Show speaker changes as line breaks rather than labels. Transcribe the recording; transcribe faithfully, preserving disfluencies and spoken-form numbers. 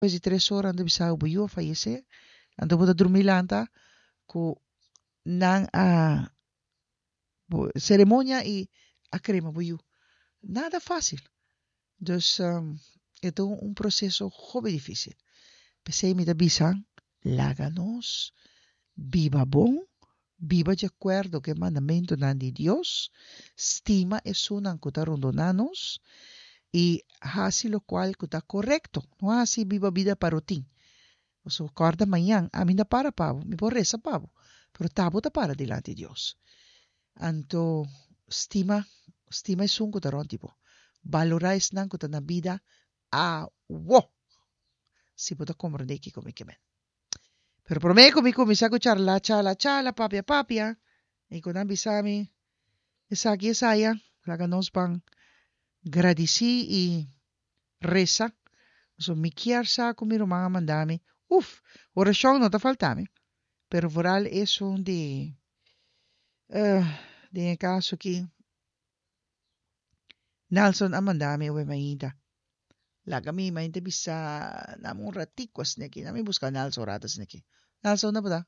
Despues di tres ora nan ta bisa bo yu a fayesé, anto bo ta drumi lanta ku nan a seremonia i a krema bo yu. Nada fásil. Dus e ta un proseso hopi difísil. P'esei mi ta bisa, laga nos biba bon, biba di akuerdo ku e mandamentunan di Dios, stima esunnan ku ta rondoná nos i hasi lokual ku ta korekto. No hasi biba bida parotin. Pasobra kòrda mañan ami no para pa bo, mi por resa pa bo, pero ta bo ta para dilanti Dios. Anto stima, stima esun ku ta rònt di bo. Balorá esnan ku ta na bida awo. Si bo ta komprendé kiko mi ke men. Pero promé ku mi kuminsá ku charla, chala, chala, papia, papia, i ku nan bisa mi esaki esaya, laga nos ban gradisí i resa. Pasobra mi kier sa ku mi ruman a manda mi. Uf, orashon no ta falta mi, pero vooral esun di, den e kaso aki, Nelson a manda mi awe mainta. Laga mi mainta bisa, dame un ratico asina aki. Dame busca Nelson un rato asina aki. Nelson, unda bo ta?